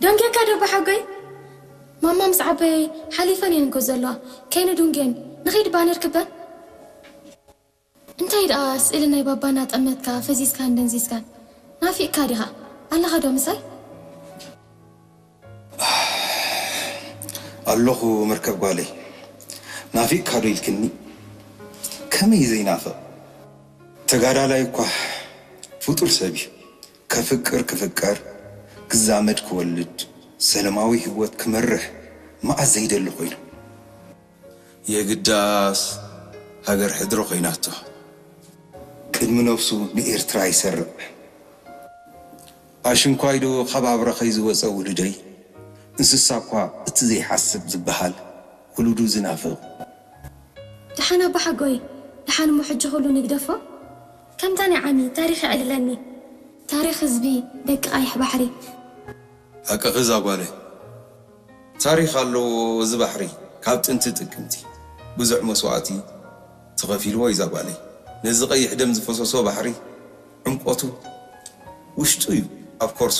ደንጌካ ዶ ኣቦሓጎይ? ማማ ምስ ዓበየ ሓሊፈን እየን እኮ ዘለዋ። ከይንዱንጌን ንኺድ ባነር ክበን። እንታይ ደኣ ስእሊ ናይ ባባና ጠመትካ ፈዚዝካን ደንዚዝካን? ናፊቕካ ዲኻ? ኣለኻ ዶ ምሳይ? ኣለኹ መርከብ ጓለይ። ናፊቕካ ዶ ኢልክኒ? ከመይ ዘይናፍቕ? ተጋዳላይ እኳ ፍጡር ሰብ እዩ። ከፍቅር ክፍቀር፣ ክዛመድ ክወልድ፣ ሰለማዊ ህይወት ክመርሕ መኣዝ ዘይደሊ ኮይኑ። የግዳስ ሃገር ሕድሪ ኮይናቶ። ቅድሚ ነብሱ ንኤርትራ ይሰርዕ። ኣሽንኳይ ዶ ካብ ኣብረኸይ ዝወጸ ውሉደይ? እንስሳ እኳ እቲ ዘይሓስብ ዝበሃል ውሉዱ ዝናፍቕ። ደሓን ኣቦሓጎይ፣ ደሓን እሞ ሕጂ ኩሉ ንግደፎ። ከምታ ናይ ዓሚ ታሪኽ የዕልለኒ። ታሪኽ ህዝቢ ደቂ ቃይሕ ባሕሪ። ሓቅኺ እዛ ጓለይ። ታሪኽ ኣለዎ እዚ ባሕሪ። ካብ ጥንቲ ጥቅምቲ ብዙሕ መስዋእቲ ተኸፊልዎ እዩ እዛ ጓለይ። ነዚ ቀይሕ ደም ዝፈሰሶ ባሕሪ ዕምቆቱ ውሽጡ እዩ ኣብ ከርሱ።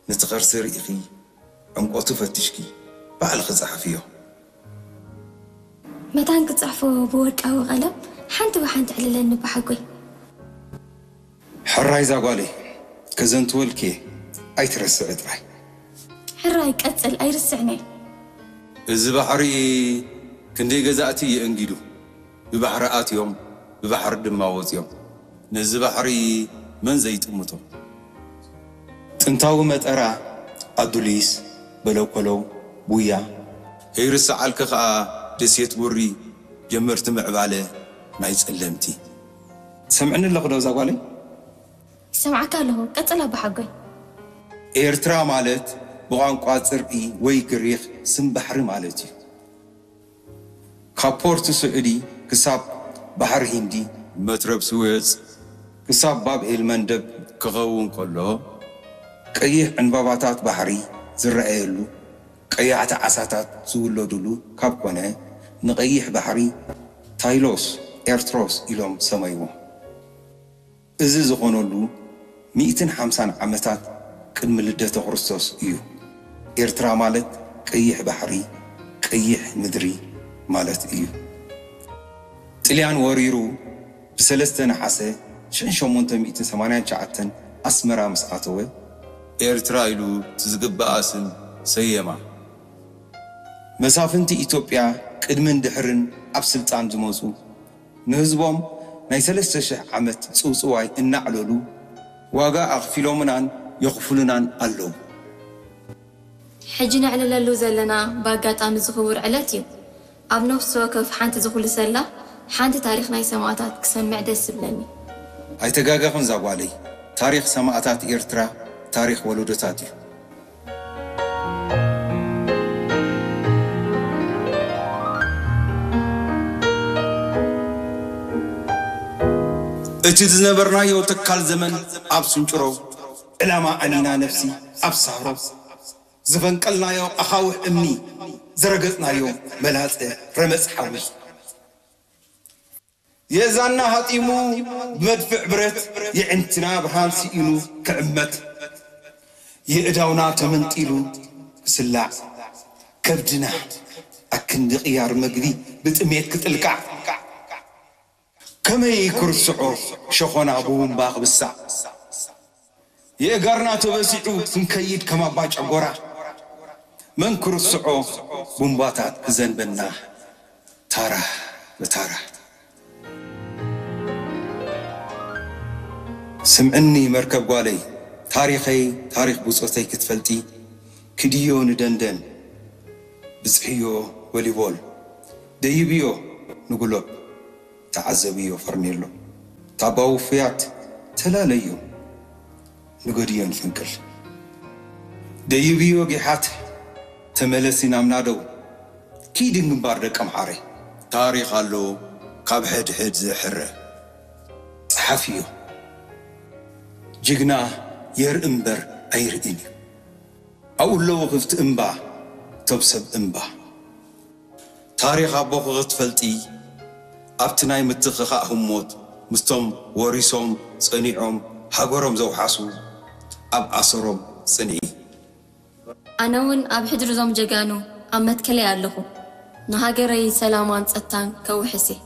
ነቲ ከርሲ ርኢኺ ዕምቆቱ ፈቲሽኪ ባዕልኺ ጸሓፍዮ። መታን ክጽሕፎ ብወርቃዊ ቀለም ሓንቲ ብሓንቲ ዕልለኒ ኣቦሓጎይ። ሕራይ እዛ ጓለይ፣ ከዘንትወልኪ እየ ኣይትረስዒ ጥራይ። ሕራይ ቀጽል ኣይርስዕን እየ። እዚ ባሕሪ ክንደይ ገዛእቲ የእንጊዱ። ብባሕሪ ኣትዮም ብባሕሪ ድማ ወጽዮም። ነዚ ባሕሪ መን ዘይጥምቶ? ጥንታዊ መጠራ፣ ኣዱሊስ፣ በለኮለው፣ ቡያ። ከይርስዓልኪ ከኣ ደሴት ቡሪ፣ ጀመርቲ ምዕባለ ናይ ጸለምቲ። ትሰምዕኒ ኣለኺ ዶ እዛ ጓለይ? ይሰምዓካ ኣለኹ፣ ቀጽል ኣቦሓጎይ። ኤርትራ ማለት ብቋንቋ ጽርኢ ወይ ግሪኽ ስም ባሕሪ ማለት እዩ። ካብ ፖርት ስዑዲ ክሳብ ባሕሪ ሂንዲ፣ መትረብ ስዌጽ ክሳብ ባብ ኤል መንደብ ክኸውን ከሎ፣ ቀይሕ ዕንባባታት ባሕሪ ዝረኣየሉ፣ ቀያሕቲ ዓሳታት ዝውለዱሉ ካብ ኮነ፣ ንቐይሕ ባሕሪ ታይሎስ ኤርትሮስ ኢሎም ሰመይዎ። እዚ ዝኾነሉ ሚእትን ሓምሳን ዓመታት ቅድሚ ልደተ ክርስቶስ እዩ። ኤርትራ ማለት ቀይሕ ባሕሪ፣ ቀይሕ ምድሪ ማለት እዩ። ጥልያን ወሪሩ ብሰለስተ ነሓሰ ሽሕን ሸሞንተ ሚእትን ሰማንያን ትሽዓተን ኣስመራ ምስ ኣተወ፣ ኤርትራ ኢሉ እቲ ዝግብኣ ስም ሰየማ። መሳፍንቲ ኢትዮጵያ ቅድምን ድሕርን ኣብ ስልጣን ዝመጹ ንህዝቦም ናይ ሰለስተ ሽሕ ዓመት ጽውጽዋይ እናዕለሉ ዋጋ ኣኽፊሎምናን የኽፍሉናን ኣለዉ። ሕጂ ነዕልለሉ ዘለና ብኣጋጣሚ እዚ ክቡር ዕለት እዩ። ኣብ ነፍሲ ወከፍ ሓንቲ ዝኹልሰላ ሓንቲ ታሪኽ ናይ ሰማእታት ክሰምዕ ደስ ዝብለኒ። ኣይተጋገኽን እዛ ጓለይ፣ ታሪኽ ሰማእታት ኤርትራ ታሪኽ ወለዶታት እዩ። እቲ ዝነበርናዮ ተካል ዘመን ኣብ ስንጭሮ፣ ዕላማ ኣኒና ነፍሲ ኣብ ሳህሮ፣ ዝፈንቀልናዮ ኣኻውሕ እምኒ፣ ዝረገጽናዮ መላጸ ረመጽ ሓዊ። የእዛንና ሃጢሙ ብመድፍዕ ብረት፣ የዕንትና ብርሃን ስኢኑ ክዕመት፣ የእዳውና ተመንጢሉ ክስላዕ፣ ከብድና ኣክንዲ ቅያር መግቢ ብጥሜት ክጥልቃዕ፣ ከመይ ክርስዖ ሸኾና ብቡምባ ክብሳዕ፣ የእጋርና ተበሲዑ ክንከይድ ከም ኣባ ጨጎራ፣ መን ክርስዖ ቡምባታት ክዘንበና ታራ ብታራ። ስምዕኒ መርከብ ጓለይ፣ ታሪኸይ ታሪኽ ብጾተይ ክትፈልጢ፣ ኪድዮ ንደንደን፣ ብጽሕዮ ቮሊቦል፣ ደይብዮ ንጉሎብ፣ ተዓዘብዮ ፈርኔሎ። ታባ ውፉያት ተላለዮ ንገድዮ ንፍንቅል። ደይብዮ ጊሓት ተመለሲ ናብ ናደው። ኪዲ ግንባር ደቀምሓረ። ታሪኽ ኣሎ ካብ ሕድሕድ ዝሕረ። ጸሓፍዮ። ጅግና የርኢ እምበር ኣይርእን እዩ። ኣብኡ ኣለዉ ክፍቲ እምባ፣ እቶም ሰብ እምባ። ታሪኽ ኣቦኺ ክትፈልጢ፣ ኣብቲ ናይ ምትኽኻእ ህሞት ምስቶም ወሪሶም ጸኒዖም ሃገሮም ዘውሓሱ፣ ኣብ ኣሰሮም ጽንዒ። ኣነ እውን ኣብ ሕድሪ እዞም ጀጋኑ ኣብ መትከለይ ኣለኹ። ንሃገረይ ሰላማን ጸጥታን ከውሕስ እየ።